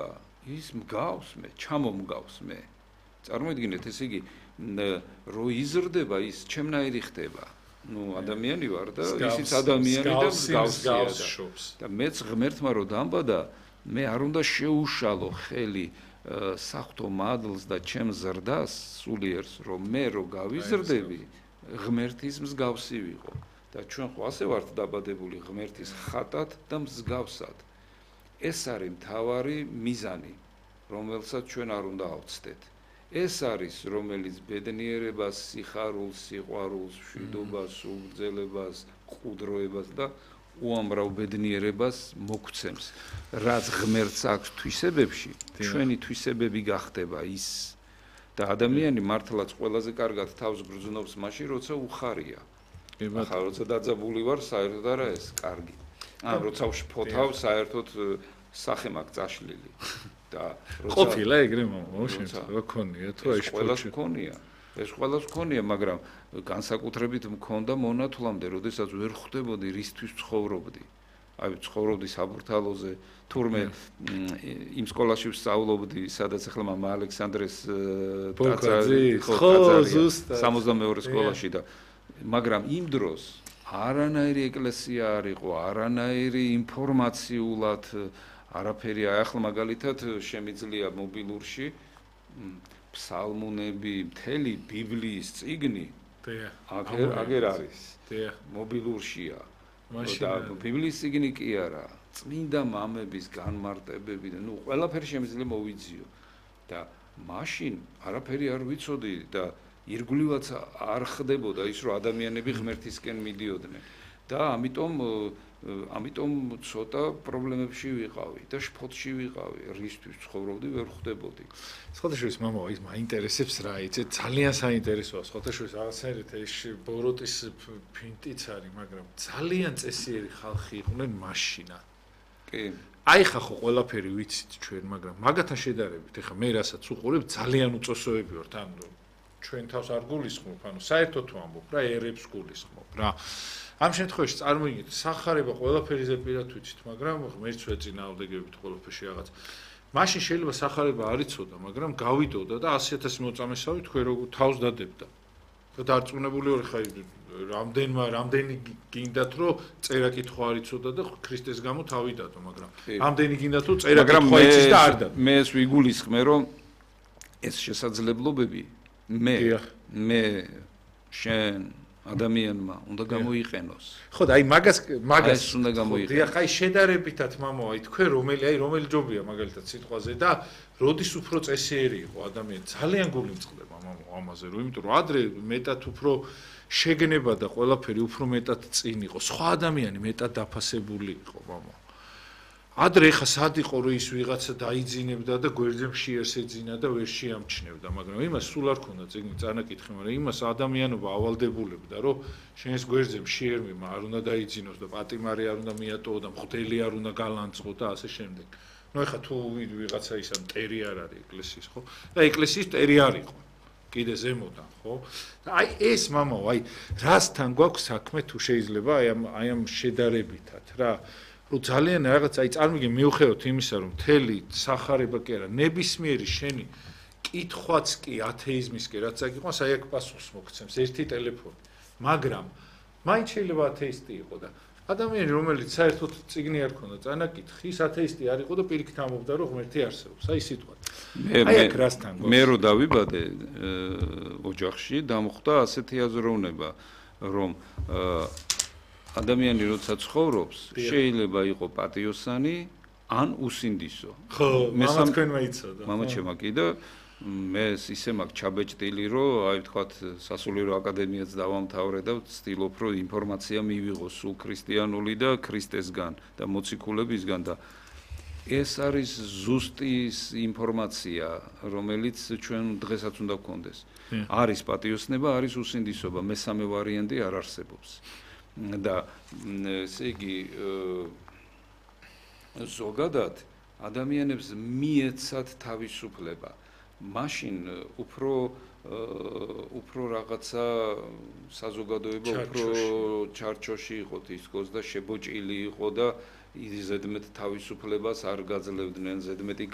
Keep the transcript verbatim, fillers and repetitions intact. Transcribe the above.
იზრდება, ის მგავს მე, ჩამომგავს მე. წარმოიდგინეთ, ესე იგი, რო იზრდება, ის ჩემნაირი ხდება. ნუ ადამიანი ვარ და ისიც ადამიანი და მსგავსია და მეც ღმერთმა რო დამბადა, მე არ უნდა შეუშალო ხელი საღვთო მადლს და ჩემ ზრდას სულიერს, რომ მე რო გავიზრდები, ღმერთის მსგავსი ვიყო. და ჩვენ ხო ასე ვართ დაბადებული ღმერთის ხატად და მსგავსად. ეს არის მთავარი მიზანი, რომელსაც ჩვენ არ უნდა ავწდეთ. ეს არის, რომელიც ბედნიერებას, სიხარულს, სიყვარულს, მშვიდობას, უგრძელებას, ყუდროებას და უამრავ ბედნიერებას მოგცემს. რაც ღმერთს აქვს თვისებებში, ჩვენი თვისებები გახდება ის. და ადამიანი მართლაც ყველაზე კარგად თავს გრძნობს მაშინ, როცა უხარია. ახლა როცა დაძაბული ვარ, საერთოდ არა ეს კარგი. ან როცა ვშფოთავ, საერთოდ სახე მაქვს წაშლილი. და ყოფილა ეგრე მომშენს რა ქონია თუ აი ყველას ქონია ეს ყველას ქონია მაგრამ განსაკუთრებით მქონდა მონათვლამდე როდესაც ვერ ხვდებოდი რისთვის ცხოვრობდი აი ცხოვრობდი საბურთალოზე თურმე იმ სკოლაში ვსწავლობდი სადაც ახლა მამა ალექსანდრეს ტაძარი ხო ზუსტად სამოცდამეორე სკოლაში და მაგრამ იმ დროს არანაირი ეკლესია არ იყო არანაირი ინფორმაციულად არაფერი ახლა მაგალითად შემიძლია მობილურში ფსალმუნები, მთელი ბიბლიის წიგნი აგერ აგერ არის. მობილურშია. და ბიბლიის წიგნი კი არა, წმინდა მამების განმარტებები და ნუ ყველაფერი შემიძლია მოვიძიო. და მაშინ არაფერი არ ვიცოდი და ირგვლივაც არ ხდებოდა ის რომ ადამიანები ღმერთისკენ მიდიოდნენ. და ამიტომ ამიტომ ცოტა პრობლემებში ვიყავი და შფოთში ვიყავი, რისთვის ცხოვრობდი, ვერ ხვდებოდი. სხვათაშორის მამა ის მაინტერესებს რა, იცი, ძალიან საინტერესოა, სხვათაშორის რაღაცაერთ ეს ბოროტის ფინტიც არის, მაგრამ ძალიან წესიერი ხალხი იყვნენ მაშინა. კი. აი ხა ხო ყველაფერი ვიცით ჩვენ, მაგრამ მაგათან შედარებით, ეხა მე რასაც უყურებ, ძალიან უწესოები ვართ, ანუ ჩვენ თავს არ გულისხმობ, ანუ საერთოდ თუ ამბობ რა, ერებს გულისხმობ რა. ამ შემთხვევაში წარმოიდგინეთ, სახარება ყველაფერიზე პირად ვიცით, მაგრამ ღმერთს ვეწინააღმდეგებით ყველაფერში რაღაც. მაშინ შეიძლება სახარება არ იცოდა, მაგრამ გავიდოდა და ასი ათასი მოწამესავი თქვენ როგორ თავს დადებდა. და დარწმუნებული ვარ ხა რამდენმა რამდენი გინდათ რომ წერა კითხვა არ იცოდა და ქრისტეს გამო თავი დადო, მაგრამ რამდენი გინდათ რომ წერა კითხვა იცის და არ დადო. მე ეს ვიგულისხმე რომ ეს შესაძლებლობები მე მე შენ ადამიანმა უნდა გამოიყენოს. ხო და აი მაგას მაგას უნდა გამოიყენოს. დიახ, აი შედარებითად მამა, აი თქვენ რომელი აი რომელი ჯობია მაგალითად სიტყვაზე და როდის უფრო წესიერი იყო ადამიანი, ძალიან გულიმწყდება მამა ამაზე, რომ იმიტომ რომ ადრე მეტად უფრო შეგნება და ყველაფერი უფრო მეტად წინ იყო. სხვა ადამიანი მეტად დაფასებული იყო მამა. ადრე ხა სად იყო რომ ის ვიღაცა დაიძინებდა და გვერდზე მშიერს ეძინა და ვერ შეამჩნევდა, მაგრამ იმას სულ არ ქონდა წიგნი წანაკითხი, მაგრამ იმას ადამიანობა ავალდებულებდა, რომ შენს გვერდზე მშიერმი არ უნდა დაიძინოს და პატიმარი არ უნდა მიატოვო და მღვდელი არ უნდა გალანწყო და ასე შემდეგ. ნუ ეხა თუ ვიღაცა ისა მტერი არ არის ეკლესიის, ხო? და ეკლესიის მტერი არ იყო. კიდე ზემოდან, ხო? და აი ეს მამაო, აი რასთან გვაქვს საქმე თუ შეიძლება აი ამ აი ამ შედარებითად რა რომ ძალიან რაღაც აი წარმოგიდგენ მიუხედავად იმისა რომ მთელი სახარება კი არა ნებისმიერი შენი კითხვაც კი ათეიზმის კი რაც აქ იყო აი აქ პასუხს მოგცემს ერთი ტელეფონი მაგრამ მაინც შეიძლება ათეისტი იყო და ადამიანი რომელიც საერთოდ წიგნი არ ქონდა წანაკითხი ის ათეისტი არ იყო და პირიქით ამბობდა რომ ღმერთი არსებობს აი სიტყვა აი აქ რასთან გვაქვს მე რო დავიბადე ოჯახში დამხვდა ასეთი აზროვნება რომ ადამიანი როცა ცხოვრობს, შეიძლება იყო პატიოსანი, ან უსინდისო. ხო, მამაც თქვენმა იცოდა. მამა ჩემა კი და მე ისე მაქვს ჩაბეჭდილი, რომ აი ვთქვათ, სასულიერო აკადემიაც დავამთავრე და ვცდილობ, რომ ინფორმაცია მივიღო სულ ქრისტიანული და ქრისტესგან და მოციქულებისგან და ეს არის ზუსტი ინფორმაცია, რომელიც ჩვენ დღესაც უნდა გქონდეს. არის პატიოსნება, არის უსინდისობა, მესამე ვარიანტი არ არსებობს. და ესე იგი ზოგადად ადამიანებს მიეცათ თავისუფლება. მაშინ უფრო უფრო რაღაცა საზოგადოება უფრო ჩარჩოში იყო თითქოს და შებოჭილი იყო და ზედმეტ თავისუფლებას არ გაძლევდნენ, ზედმეტი